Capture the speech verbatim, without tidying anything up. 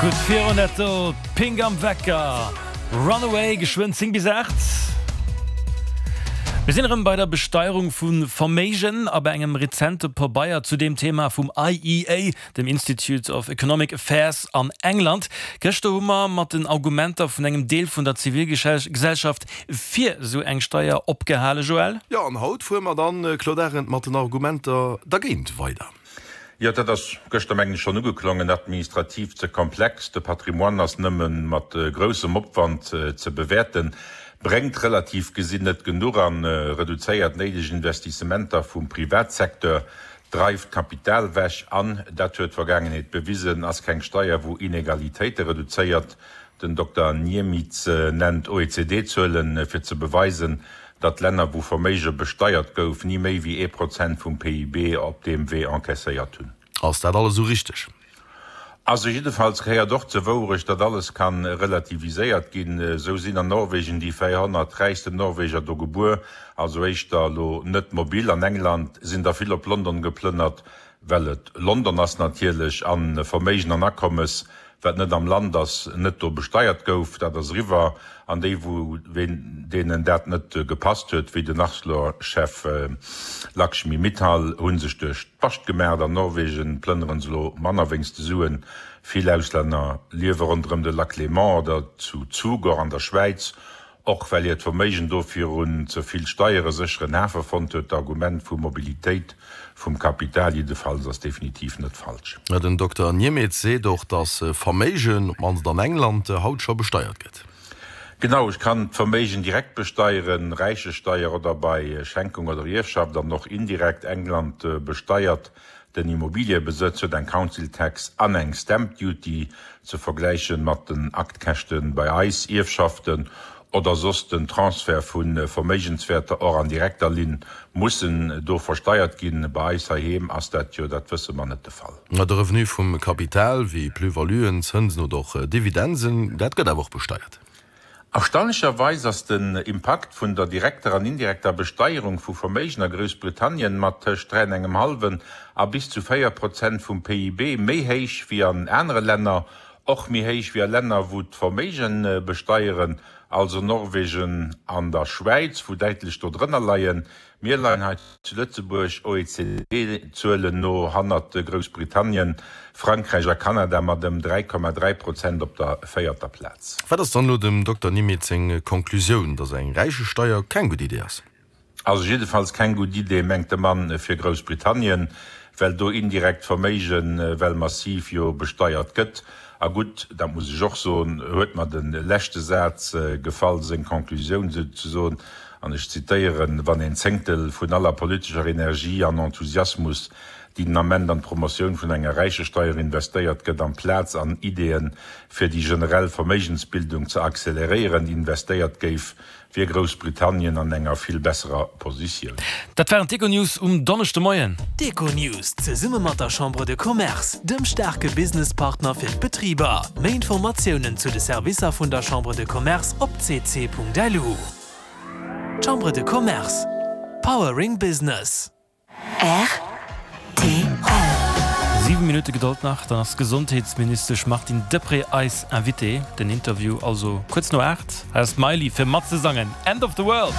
Gutt virun netto, Pink am Wecker, Runaway, geschwënn zéng bis aacht. Mir sinn erëm bei der Besteierung vu Verméigen a bei engem rezente Pabeier zu deem Thema vum I E A, dem Institute of Economic Affairs an England. Gëschter hu mer mat den Argumenter vun engem Deel vun der Zivilgesellschaft fir esou eng Steier opgehale, Joël. Jo, an haut fuere mer dann, Claude Arend, mat den Argumenter dergéint weider. Jo, dat ass gëschter, mengen ech, schonn ugeklongen, administrativ ze komplex, de Patrimoine ass nëmme mat groussem Opwand ze bewäerten, bréngt relativ gesinn net genuch an, reduzéiert néideg Investissementer vum Privatsecteur, dreift Kapital wech an, dat huet d'Vergaangenheet bewisen, ass keng Steier wou Inegalitéite reduzéiert. Den Dokter Niemietz nennt O E C D-Zuelen, fir ze beweisen, datt Länner, wou Verméige besteiert gouf, ni méi wéi ee Prozent vum P I B op deem Wee encaisséiert hunn. Ass dat alles esou richteg? Also jiddefalls gehéiert och zur Wourecht, datt alles ka relativiséiert ginn. Esou sinn an Norwegen déi véierhonnert räichsten Norweger do gebuer, also éischter elo net mobil. An England sinn der vill op London geplënnert, well et London ass natierlech, a Verméigen an Akommes, wat net am Land ass, net do besteiert gouf. Dat ass eriwwer. An déi, wou deenen dat net gepasst huet, wéi den Arcelor-Chef Lakshmi Mittal, hu sech duerch d'Bascht gemaacht. An Norwegen plënnere se elo manner wéinst de Suen. Vill Auslänner liewe ronderëm de Lac Léman oder zu Zug, och an der Schwäiz. Och well hiert Verméigen do virun ze vill Steiere sécheren Hafe fonnt huet. D'Argument vu Mobilitéit vum Kapital jiddefalls ass definitiv net falsch. Den Dokter Niemietz seet och, datt Verméigen, op d'mannst an England, haut scho besteiert gëtt. Genau, ech kann d'Verméigen direkt besteieren, Räichesteier oder bei Schenkung oder Ierfschaft, an och indirekt. England besteiert den Immobiliëbesëtz, huet eng Council Tax an eng Stamp Duty, ze vergläichen mat den Aktkäschten bei eis. Ierfschaften oder soss den Transfert vu Verméigenswäerter, och an direkter Linn, mussen do versteiert ginn. Bei eis heiheem ass dat jo, dat wësse mer, net de Fall. De Revenu vum Kapital, wéi Plus-valuen, Zënsen oder och Dividenden, dat gëtt awer och besteiert. Erstaunlecherweis ass den Impakt vun der direkter an indirekter Besteierung vu Verméigen a Groussbritannien mat tëscht dräi an engem hallwen a bis zu véier Prozent vum P I B méi héich wéi an anere Länner, och méi héich wéi a Länner, wou d'Verméige besteieren, also Norwegen an der Schwäiz, wou däitlech do drënner leien. Mir leien hei zu Lëtzebuerg O E C D-Zuelen no hannert Groussbritannien, Frankräich a Kanada mat ëm dräi Komma dräi Prozent op der véierter Plaz. Wat ass dann elo dem Dokter Niemietz seng Konklusioun, datt eng Räichesteier keng gutt Idee ass? Also jiddefalls keng gutt Idee, mengt de Mann, fir Groussbritannien, well do indirekt Verméigen well massiv jo besteiert gëtt. A gutt, dat muss ech och soen, huet mer de leschte Saz gefall, seng Konklusioun souzesoen, an ech zitéieren, Wann een Zéngtel vun aller politescher Energie an Enthusiasmus, déi den Ament an d'Promotioun vun enger Räichesteier investéiert gëtt, amplaz an Ideeën, fir déi generell Verméigensbildung ze acceleréieren, investéiert géif, wier Groussbritannien an enger vill besserer Positioun. Dat waren d'Econews um Donneschdemoien. D'Econews zesumme mat der Chambre de Commerce, dem staarke Businesspartner fir d'Betriber. Méi Informatiounen zu de Servicer vun der Chambre de Commerce op C C Punkt L U. Chambre de Commerce. Powering Business. R T L. Siwe Minutte Gedold nach, dann ass d'Gesondheetsministesch Martine Deprez eis Invitée. Den Interview also kuerz no aacht. Hei ass d'Miley fir matzesangen End of the World.